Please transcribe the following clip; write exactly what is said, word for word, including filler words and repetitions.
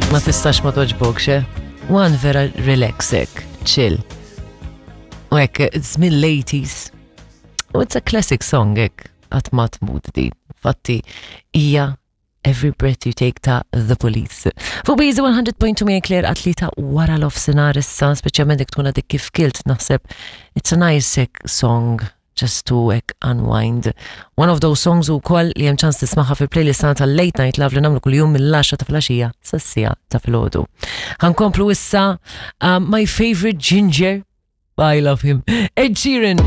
Ma tistax ma togħġbokx, eh? One vera relax hekk, chill. U hekk, it's mill-eighties. U it's a classic song hekk, qatt ma tmut di. Fatti, hija Every Breath You Take ta' The Police. Fuq B Z one hundred point two minn Claire għat-tlieta wara nofsinhar issa, speċjalment jekk tkun għadek kif kilt, naħseb it's a nice hekk song just to hekk unwind. One of those songs ukoll li hemm ċans tismagħha fil-playlist tagħna tal-Late Night Love li nagħmlu kuljum mill-għaxra ta' filgħaxija sas-siegħa ta' filgħodu. Ħa nkomplu issa um, my favorite ginger, I love him, Ed Sheeran.